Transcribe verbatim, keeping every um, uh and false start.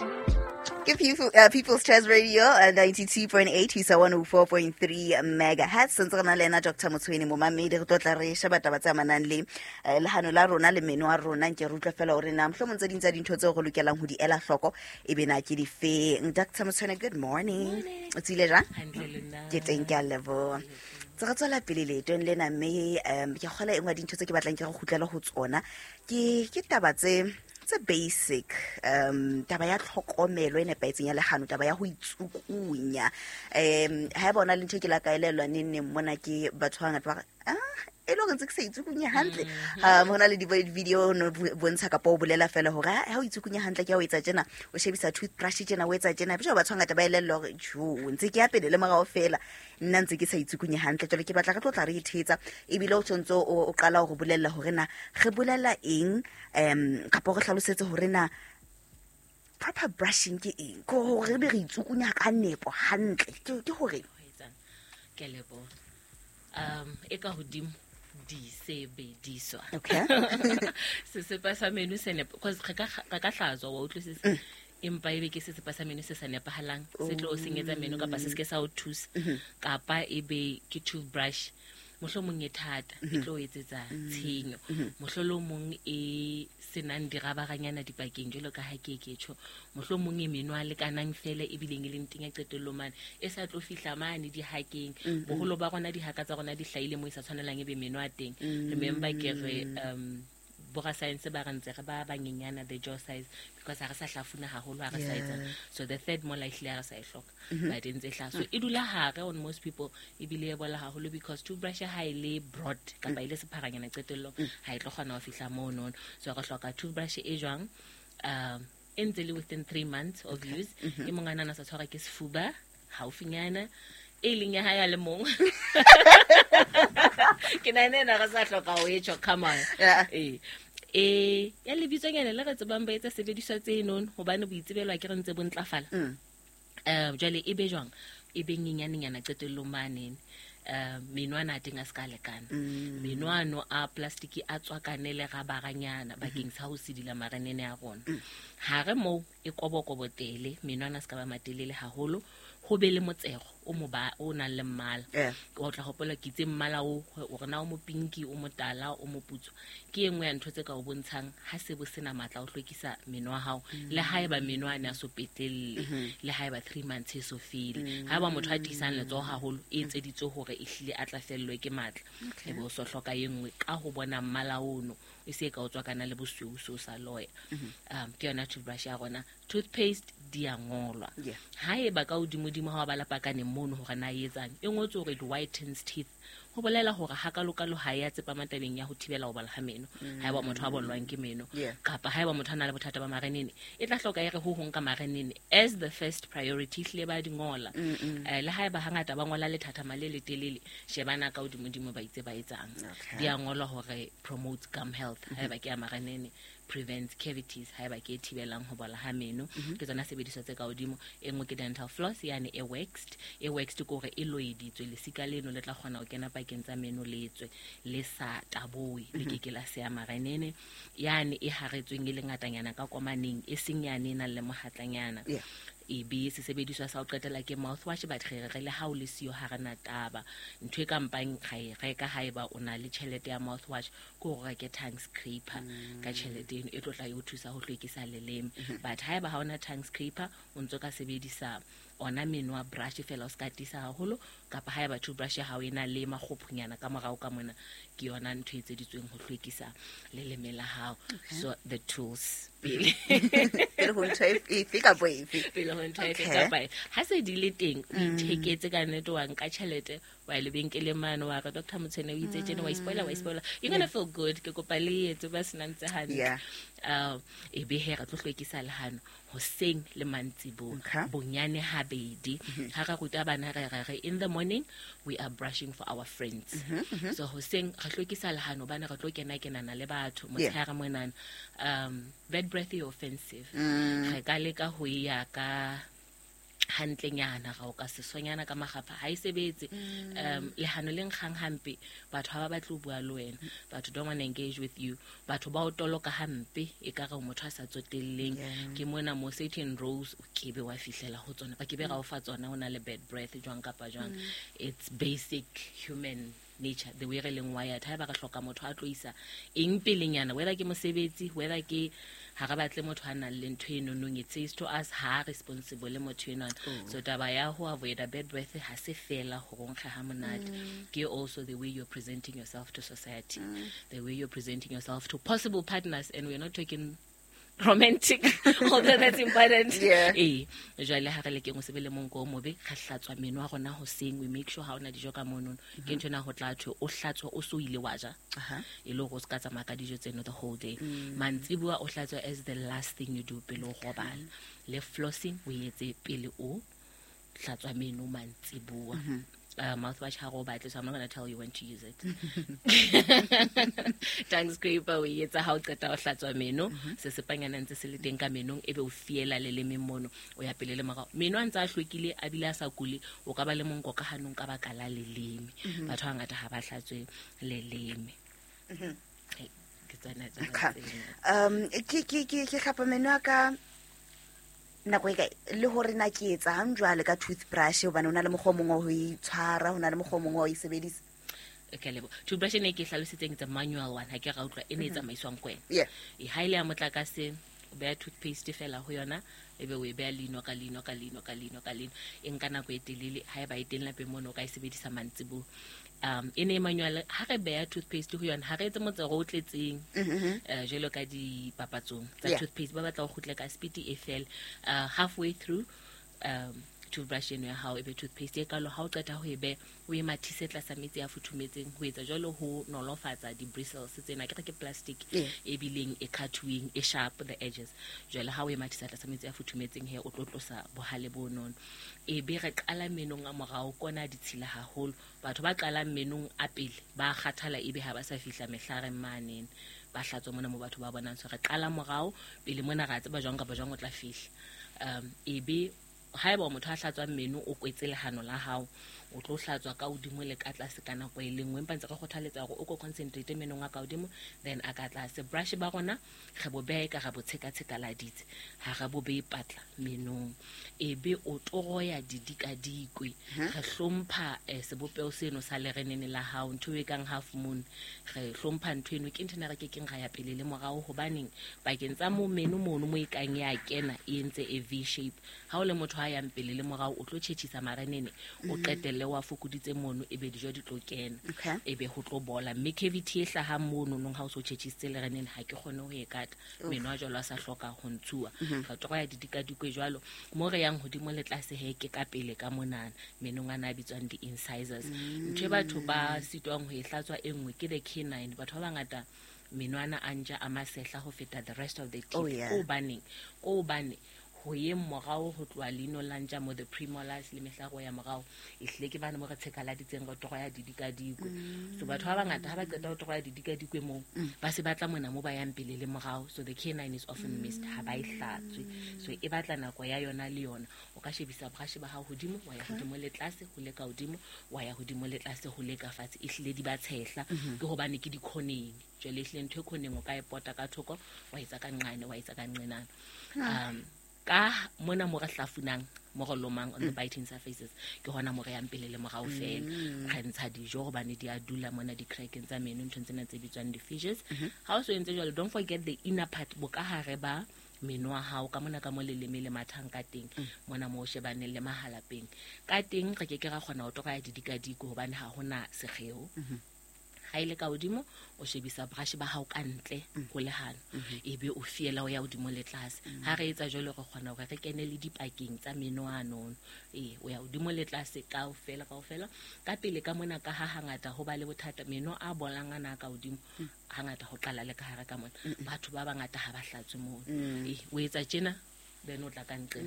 Ke People, uh, People's Choice Radio uh, ninety-two point eight ho isa one oh four point three megahertz. Ntse re na le yena Doctor Motshweni momamedi, re tlo tla re sheba taba tse amanang le eh, lehano la rona le meno a rona. Nke re utlwe fela hore na mohlomong tse ding tsa dintho tseo re lokelang ho di ela hloko e be na ke difeng. Doctor Motshweni, good morning. Morning. O tsile jwang? Hantle le nna. Ke teng, ke a leboha. Tse re tswela pele leetong lena, mme um ke kgola e nngwe ya dintho tse ke batlang ke re kgutlele ho tsona ke ke taba tse tse basic, um taba ya tlhokomelo e nepahetseng ya lehano, taba ya ho itsukunya. Um ha e bona le ntho ke la ka elellwa neng neng mona ke batho ba bangata ba re, ah, e le hore ntse ke sa itsukunya hantle. Um ho na le di-video no bontsha kapa o bolela fela hore ha o itsukunya hantle ke ha o etsa tjena, o shebisa toothbrush tjena, o etsa tjena. Jwale batho ba bangata ba elellwa hore jo, ntse ke ya pele le morao fela, nna ntse ke sa itsukunye hantle. Jwale ke batla re tlo tla re ithetsa, ebile o tshwantse o qala ho re bolella hore na re bolela eng, um kapa re hlalosetse hore na proper brushing ke eng, ke hore re be re itsukunya ka nepo hantle ke ke hore Ke a leboha. Um e ka hodimo disebediswa. Okay. Sesepa sa meno se nepa, because re ka re ka hlatswa, wa utlwisisa, empa ebe ke sesepa sa meno se sa nepahalang, se tlo o senyetsa meno kapa se seke sa o thusa, kapa ebe ke toothbrush mohlomong e thata e tlo o etsetsa tshenyo, mohlolomong e senang dirabaranyana dipakeng jwalo ka ha ke ke tjho, mohlomong e meno a lekanang fela ebileng e leng teng ya qetellong mane e sa tlo fihla mane dihakeng. Boholo ba rona dihaka tsa rona di hlahile mo e sa tshwanelang ebe meno a teng. Remember ke re um borascience ba re ntse re ba banyenyana the jaw size because ha re sa hlafuna haholo, ha re sa etsa. So the third molar ehlile ha re sa e hloka, but e ntse e hlaha, so e dula hare on most people, ebile e bola haholo because toothbrush ha e le broad kapa e le sepharanyana qetellong ha e tlo kgona ho fihla mono. So re hloka toothbrush e jwang, um e ntse le within three months of use, e mong a nana sa tshwarwa ke sefuba haufinyana e leng ya hae a le mong. Ke nahana ena re sa hloka ho e tjho, come on. Yeah. Eh e ya lebitsonyana le re tsebang ba etsa sebediswa tse nono hobane boitsebelo ke re ntse bo ntlafala. Mm. Eh jwale e be jwang, e be nyenyanenyana qetellong manene. Eh menwana a teng a ska lekana, menwano a plastic a tswakane le rabaranyana bakeng sa ho sidila marenene a rona. Ha re moo e kobokobo tele, menwana a ska ba matelele haholo, ho be le motsego o mo ba o nang le mmala. Yeah. O tla hopola ke itse mmala o hore na o mo pinki, o motala, o moputswa, ke e nngwe ya ntho tse ka o bontshang ha se bo sena matla o hlwekisa meno a hao, le haeba meno a ne a so petlelle, le haeba three months e so fele. Haeba motho a tiisang letsoho haholo e etseditswe hore e hlile a tla fellwe ke matla, e be o so hloka e nngwe ka ho bona mmala ono e se ka o tswakana le bosweu so sa loya. Um ke yona toothbrush ya rona. Toothpaste di a ngolwa. Yeah. Haeba ka hodimodimo ha wa bala pakane mono hore na e etsang, e ngotswe hore it whitens teeth, ho bolela hore hakalokalo ha ya tsepama tabeng ya ho thibela ho bola ha meno. Haeba motho a bollwang ke meno, Yeah. kapa haeba motho a na le bothata ba marenene, e tla hloka e re ho hong ka marenene as the first priority, hlile ba di ngola. Eh, le haeba hangata ba ngola lethathama le letelele, shebana ka hodimodimo ba itse ba etsang. Okay. Di a ngolwa hore promotes gum health haeba ke ya marenene, prevents cavities haeba ke e thibelang ho bola ha meno. Ke tsona sebediswa tse ka hodimo. E nngwe ke dental floss, yane e waxed. E waxed ke hore e loeditswe, lesika leno le tla kgona ho kena pakeng tsa meno le tswe le sa taboe, le ke ke la seya marenene. Yane e haretsweng e le ngatanyana ka komaneng, e seng yane e nang le mohatlanyana. Yeah. E be sesebediswa sa ho qetela ke mouthwash, but re re le ha o le siyo ha re na taba. Ntho e ka mpang ra e reka haeba o na le tjhelete ya mouthwash ke hore reke tongue scraper ka tjhelete eno e tlo tla e o thusa ho hlwekisa leleme. But haeba ha ona tongue scraper, o ntso ka sebedisa ona meno a brush fela, o ska tiisa haholo, kapa haeba toothbrush ya hao e na le makgophonyana ka morao ka mona, ke yona ntho e etseditsweng ho hlwekisa leleme la hao. So the tools pele. Pele ho ntho efe kapa efe. Pele ho ntho efe Okay. kapa efe. Ha se di le teng, o itheketse ka nnete, wa nka tjhelete, wa ya lebenkeleng mane, wa re Doctor Motshwene o itse tjena, wa ispoiler, wa ispoiler. You're gonna feel good. Ke kopa le etse ba senang tse hantle. Yeah. Um, e be he re tlo hlwekisa lehano hoseng le mantsiboya. Okay. Bonyane habedi. Ha re ruta bana re re re in the morning we are brushing for our friends. So hoseng re hlwekisa lehano bana re tlo kena kenana le batho Yeah. motshehare monana. Um, bad breath e offensive. Re ka leka ho ya ka Hantlenyana ga o ka sesonyana ka magapa ha e sebetse. Um lehano le nkgang hampe, batho ha ba batle ho bua le wena, batho don't want to engage with you, batho ba o toloka hampe e ka re o motho a sa tsotelleng. Yeah. Ke mona mo certain roles o kebe wa fihlela ho tsona, ba kebe ra o fa tsona, o na le bad breath jwang kapa jwang. It's basic human nature, the way re leng wired. Ha eba re hloka motho a tlo isa eng pelenyana, whether ke mosebetsi, whether ke ha re batle motho a nang le ntho e nonong, it says to us ha responsible motho enwana. So taba ya ho avoid a bad breath ha se fela hore o nkge ha monate, ke also the way you're presenting yourself to society, the way you're presenting yourself to possible partners, and we're not talking romantic, although that's important. Yeah. Ee, jwale ha re lekeng o sebe le monko o mobe, re hlatswa meno a rona hoseng, we make sure ha ona dijo ka monono. Ke ntho ena ho tla thwe o hlatswa o so ile wa ja, Aha. e le hore o se ka tsamaya ka dijo tseno the whole day. Mantsiboa o hlatswa as the last thing you do pele o robala. Le flossing o etse pele o hlatswa meno mantsiboa. Uh, mouthwash ha re o batle, so I'm not gonna tell you when to use it. Tongue scraper o e etsa ha o qeta ho hlatswa meno, sesepanyana ntse se le teng ka menong, ebe o fiela leleme mono, o ya pele le morao. Meno a ntse a hlwekile a bile a sa kule, o ka ba le monko ka hanong ka baka la leleme. Batho ba bangata ha ba hlatswe leleme. Hey, ke tsona taba Okay. tseno. um ke ke ke ke hlapa meno a ka nako e kae, le hore na ke etsang jwale ka toothbrush, hobane ho na le mokgwa o mongwe wa ho itshwara, ho na le mokgwa o mongwe wa ho e sebedisa? Okay, lebo toothbrush e ne ke hlalositseng, it's a manual one, ha ke ra utlwa, e ne e tsamaiswang ko wena. Yeah. E ha ile ya motlakase, o beha toothpaste fela ho yona, ebe o e beha leino ka leino ka leino ka leino ka leino. E nka nako e telele. Ha eba e teng lapeng mono, o ka e sebedisa mantsiboa. Um e ne e manual. Ha re beha toothpaste ho yona, ha re etse motsero o tletseng, eh, jwalo ka dipapatsong tsa Yeah. toothpaste, ba batla ho kgutle ka speed e fele. Uh, halfway through um toothbrush eno ya hao, ebe toothpaste e kalo, ha o qeta ho e beha, o e mathise tlasa metsi a futhumetseng. Ho etsa jwalo ho nolofatsa di-bristles tsena, ke re ke plastic Yeah. e bileng e cut-weng, e sharp the edges. Jwale ha o e mathisa tlasa metsi a futhumetseng, he o tlo tlosa bohale bo nono. E be re qala menong a morao, kona ditshila haholo. Batho ba qalang menong a pele ba kgathala, ebe ha ba sa fihla mehlareng manene, ba hlatswa mona mo batho ba bonang. So re qala morao pele mona, ra tseba jwang kapa jwang o tla fihla. um ebe haeba o motho a hlatswang meno, o kwetse lehano la hao, o tlo hlatswa ka hodimo le ka tlase ka nako e le nngwe, empa ntse re kgothaletsa hore o ko concentrate menong a ka hodimo then a ka tlase. Brush ba rona re bo beha e ka ra bo tshekatshekaladitse, ha re bo behe patla menong. Ebe o toroya didikadikwe, re hlompha eh, sebopeho seno sa lerenene la hao, ntho e kang half moon, re hlompha ntho eno. Ke ntho ena re kekeng ra ya pele le morao, hobaneng pakeng tsa mo meno mono mo e kang ya kena, e entse e V shape. Ha o le motho a yang pele le morao, o tlo tjhetjhisa marenene, o qetelle wa fokoditse mono, ebe dijo di tlo kena, Okay. ebe ho tlo bola, mme cavity e hlahang mono nong ha o so tjhetjhisitse lerenene, ha ke kgone ho e kata. Meno a jwalo a sa hloka ho ntshuwa, re tlo ya didikadikwe jwalo mo re yang hodimo le tlase. He ke ka pele ka monana menong ana a bitswang di-incisors, ntho e batho ba sitwang ho e hlatswa e nngwe ke the canine. Batho ba bangata menwana a ntja a masehla ho feta the rest of the teeth. Oh, yeah. Ko hobaneng? Ko hobane ho yeng morao ho tloha leino la ntja mo, the premolars le mehlaro ya morao, e hlile ke bane mo re tshekaladitseng, re toroya didikadikwe. So batho ba bangata ha ba qeta ho toroya didikadikwe moo, ba se batla mona mo ba yang pele le morao. So the canine is often missed, ha ba e hlatswe. So e batla nako ya yona le yona. O ka shebisa brush ba hao hodimo, wa ya hodimo le tlase ho le ka hodimo, wa ya hodimo le tlase ho le ka fatshe. E hlile di ba tshehla, ke hobane ke dikhoneng. Jwale e hlile ntho e khoneng o ka e pota ka thoko, wa etsa ka nqane, wa etsa ka nqenana. um ka mona mo re hlafunang, mo re lomang on the biting surfaces, ke hona mo re yang pele le morao fela. Re ntsha dijo hobane di a dula mona di-crackeng tsa meno, nthong tsena tse bitswang di-fissures. Ha o so entse jwalo, don't forget the inner part, bokahare ba meno a hao ka mona, ka mo leleme le mathang ka teng, mona mo o shebaneng le mahalapeng ka teng. Re ke ke ra kgona ho toroya didikadiko hobane ha hona sekgeo. Ha ile ka hodimo, o shebisa brush ba hao ka ntle ho lehano, ebe o fiela o ya hodimo le tlase. Ha re etsa jwalo, re kgona hore re kene le dipakeng tsa meno anono. Ee, o ya hodimo le tlase kaofela kaofela. Ka pele ka mona, ka ha hangata ho ba le bothata, meno a bolang ana a ka hodimo, hangata ho qala le ka hare ka mona. Batho ba bangata ha ba hlatswe mono. Ee, o etsa tjena, then o tla ka nqena.